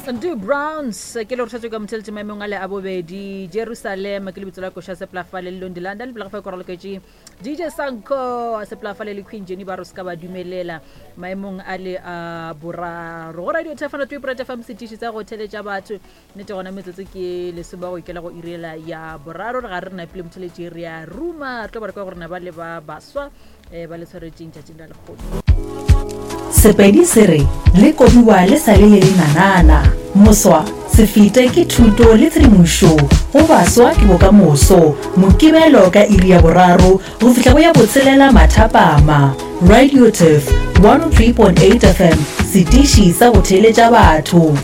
Do Browns ke le rošetšwe ka motheletše maemong a le a bobedi Jerusalem ke lebitso la koša seplafale le Londi London pele ga fa koraloketše DJ Sanko seplafale le Queen Jenny ba re se ka ba dumelela maemong a le a boraro go radio thefano twe fm setiši sa go theletša batho nnete gona metsotso ke lesome go ikela go irela ya boraro re ga re napile motheletši re a ruma re tlo ba re kwa gore na ba le ba baswa um ba le tshwaretšeng tšatšing la lekgono Sepedi se re le kobiwa le sa le le lenanana. Moswa, se fete ke thuto le tshedimošo go baswa ke bokamoso. Mokibelo ka iri ya boraro go fihla go ya botshelela mathapama. Radio Turf 103.8 FM, setiši sa go theeletša batho.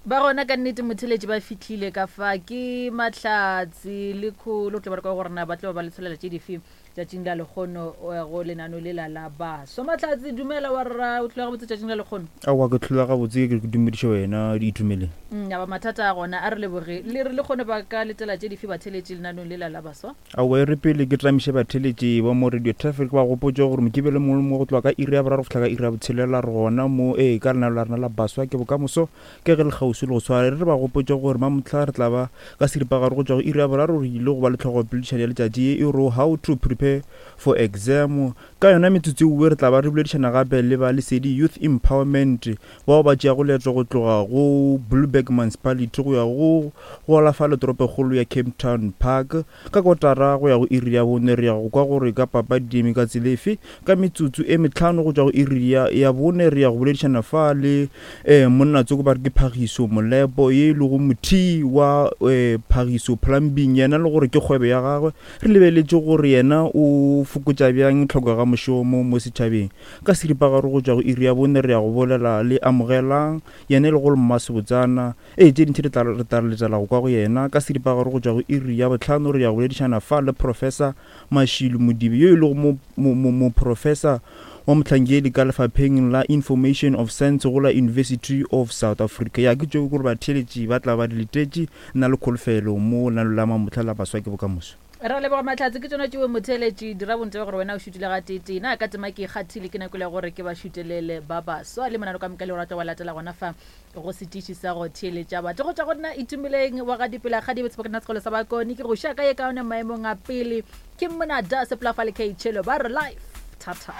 Ba gona ka nnete motheletši ba fihlile ka fa ke mahlatse le kholo tlo ba re kwa gore na ba tlo ba le tsholela tše dife tšatšing la lekgono eh, go lenano lela la baswa. Mahlatse dumela wa rra o tlhola gabotse tšatšing la lekgono. Aowa ke tlhola gabotse ke dumediše wena Itumeleng. Mm, aba mathata a gona a re leboge le re lekgono ba ka letela tše dife batheletši lenanong lela la baswa. Aowa, e re pele ke tlamiše batheeletši ba mo Radio Traffic, ke ba gopotše gore Mokibelo mongwe le mongwe go tloga ka iri ya boraro go fihla ka iri ya botshelela re gona mo, ee, ka lenaneo la rena la Baswa ke Bokamoso, ke ge le kgauswi le go tshwara. E re re ba gopotše gore mamohla re tla ba ka seripagare go tšwa go iri ya boraro re ile go ba le tlhogopoledišano ya letšatši ye e rego How to Prepare for Exam. Ka yona metsotso ewe re tla ba re boledišana gape le ba Lesedi Youth Empowerment bao ba tšeago leeto go tloga go Blouberg Municipality go ya go go alafa toropokgolo ya Cape Town Park ka kotara go ya go iri ya bone. Re ya go kwa gore ka papadi di eme ka tsela efe. Ka metsotso e mehlano go tšwa go iri ya, ya bone re ya go boledišana fa le eh, monna tsoko ba re ke Phagiso Molepo ye e lego mothii wa eh, Phagiso Plumbing, yena le gore ke kgwebo ya gagwe. Re lebeletše gore yena o fokotša bjang tlhoko ga mošomo mo setšhabeng. Ka seripagare go tšwa go iri ya bone re ya go bolela le Amogelang, yena e lego mmasebotsana. Ee, tše dintši re tla, re tla letela go kwa go yena. Ka seripagare go tšwa go iri ya bohlano re ya go boledišana fa le Professor Mashilu Modibe yo e lego mo, mo, mo, moprofesa wa mohlankedi ka lefapheng la Information of Science go la University of South Africa. Ya, ke tšeo gore batheeletši ba tla ba di letetše. Nna le kholofelo mo lenaneo la mamohla la Baswa ke Bokamoso. Ra leboga Mahlatse, ke tšona tšeo motheeletši. Dira bonnete bja gore wena o šutile gateetee. Na ka tema ke ikgathile, ke nako ya gore ke ba šutelele ba baswa le monano ka moka le go rata wa latela gona fa go setiši sa go theeletša batho. Go tšwa go nna Itumeleng wa ga Dipela Kgadibe Tshepokana Sekolo sa Bakone ke go šia ka ye kaone maemong a pele ke Mona Da Sepolafa le K Chelo ba re life. Thata.